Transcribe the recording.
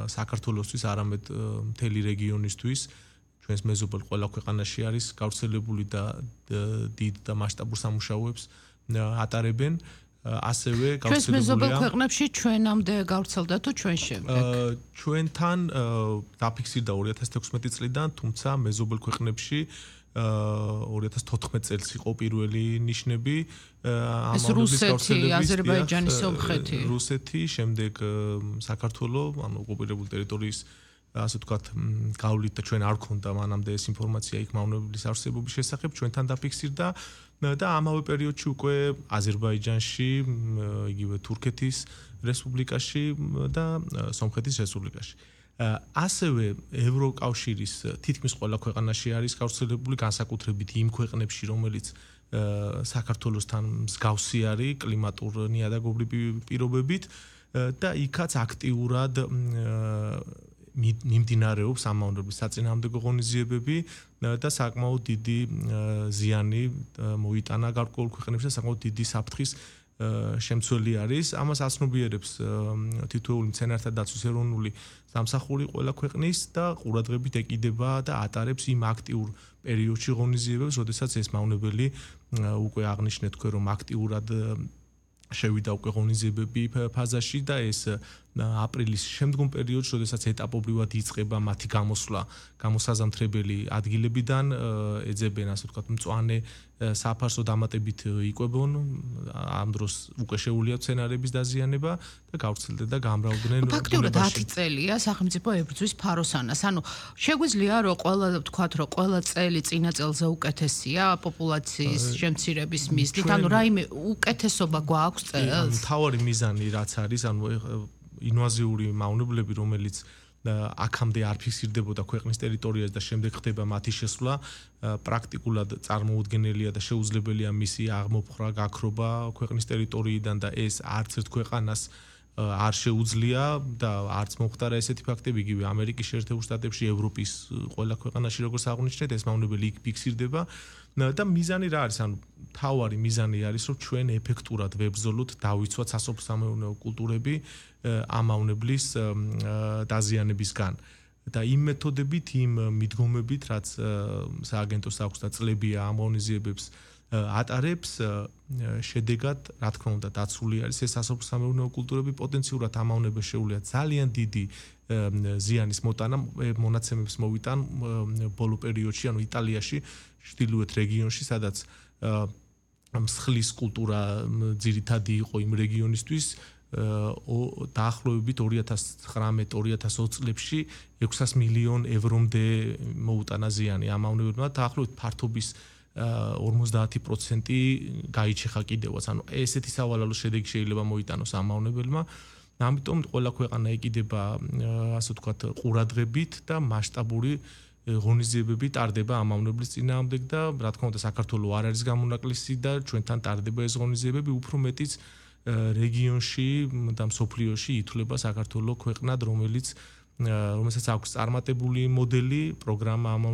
საქართველოსთვის, არამედ მთელი რეგიონისთვის, ჩვენს მეზობელ ყველა ქვეყანაში არის გავრცელებული და დიდ და მასშტაბურ სამუშაოებს ატარებენ. ასევე ჩვენს მეზობელ ქვეყნებში ჩვენამდე გავრცელდა თუ ჩვენ შემდეგ? ჩვენთან დაფიქსირდა 2016 წლიდან, თუმცა მეზობელ ქვეყნებში 2014 წელს იყო პირველი ნიშნები ამავდროულად რუსეთი, აზერბაიჯანი, სომხეთი. რუსეთი, შემდეგ საქართველო, ანუ ოკუპირებული ტერიტორიის ასე ვთქვათ, გავლით და ჩვენ არ გქონდა მანამდე ეს ინფორმაცია იქ მავნებლის არსებობის შესახებ, ჩვენთან დაფიქსირდა და ამავე პერიოდში უკვე აზერბაიჯანში, იგივე თურქეთის რესპუბლიკაში და სომხეთის რესპუბლიკაში. ასევე ევროკავშირის თითქმის ყველა ქვეყანაში არის გავრცელებული, განსაკუთრებით იმ ქვეყნებში, რომელიც საქართველოსთან მსგავსი არის კლიმატურ ნიადაგობრივი პირობებით და იქაც აქტიურად მიმდინარეობს ამავდროულად საწინააღმდეგო ღონისძიებები და საკმაოდ დიდი ზიანი მოიტანა გარკვეულ ქვეყნებში და საკმაოდ დიდი საფრთხის შემცველი არის. ამას აცნობიერებს თითოეული მცენარეთა დაცვის ეროვნული სამსახური ყველა ქვეყნის და ყურადღებით ეკიდება და ატარებს იმ აქტიურ პერიოდში ღონისძიებებს, როდესაც ეს მავნებელი უკვე აღნიშნეთ თქვენ, რომ აქტიურად შევიდა უკვე ღონისძიებები ფაზაში და ეს აპრილის შემდგომ პერიოდში, როდესაც ეტაპობრივად იწყება მათი გამოსვლა გამოსაზამთრებელი ადგილებიდან, ეძებენ ასე ვთქვათ მწვანე საფარს დამატებით იკვებონ, ამ დროს უკვე შეუძლია მცენარეების დაზიანება და გავრცელდნენ და გამრავლდნენ. ფაქტობრივად 10 წელია სახელმწიფო ებრძვის ფაროსანას. ანუ შეგვიძლია რომ ყველა წელი წინა წელზე უკეთესია პოპულაციის შემცირების მიზნით, ანუ რაიმე უკეთესობა გვაქვს წელს? მთავარი მიზანი რაც არის, ანუ ინვაზიური მავნებლები, რომელიც აქამდე არ ფიქსირდებოდა ქვეყნის ტერიტორიაზე და შემდეგ ხდება მათი შესვლა, პრაქტიკულად წარმოუდგენელია და შეუძლებელია მისი აღმოფხვრა, გაქრობა ქვეყნის ტერიტორიიდან და ეს არც ერთ ქვეყანას არ შეუძლია და არც მომხდარა ესეთი ფაქტები, იგივე ამერიკის შეერთებულ შტატებში, ევროპის ყველა ქვეყანაში როგორც აღნიშნეთ, ეს მავნებელი იქ ფიქსირდება და მიზანი რა არის? ანუ მთავარი მიზანი არის, რომ ჩვენ ეფექტურად ვებრძოლოთ, დავიცვათ სასოფლო-სამეურნეო კულტურები ამ მავნებლის დაზიანებისგან. და იმ მეთოდებით, იმ მიდგომებით, რაც სააგენტოს აქვს და წლებია ამ ღონისძიებებს ატარებს, შედეგად, რა თქმა უნდა, დაცული არის ეს სასოფლო-სამეურნეო კულტურები, პოტენციურად ამ მავნებელს შეუძლია ძალიან დიდი ზიანის მოტანა, მონაცემებს მოვიტან ბოლო პერიოდში, ანუ იტალიაში, ჩრდილოეთ რეგიონში, სადაც მსხლის კულტურა ძირითადი იყო იმ რეგიონისთვის, დაახლოებით 2019-2020 წლებში 600 მილიონ ევრომდე მოუტანა ზიანი ამ მავნებლებმა, დაახლოებით ფართობის 50% გაიჩეხა კიდევაც. ანუ ესეთი სავალალო შედეგი შეიძლება მოიტანოს ამ მავნებელმა. ამიტომ ყველა ქვეყანა ეკიდება, ასე ვთქვათ, ყურადღებით და მასშტაბური ღონისძიებები ტარდება ამ მავნებლის წინააღმდეგ და რა თქმა უნდა საქართველოს არ არის გამონაკლისი და ჩვენთან ტარდება ეს ღონისძიებები, უფრო მეტიც რეგიონში და მსოფლიოში ითვლება საქართველოს ქვეყნად, რომელსაც აქვს წარმატებული მოდელი, პროგრამა ამ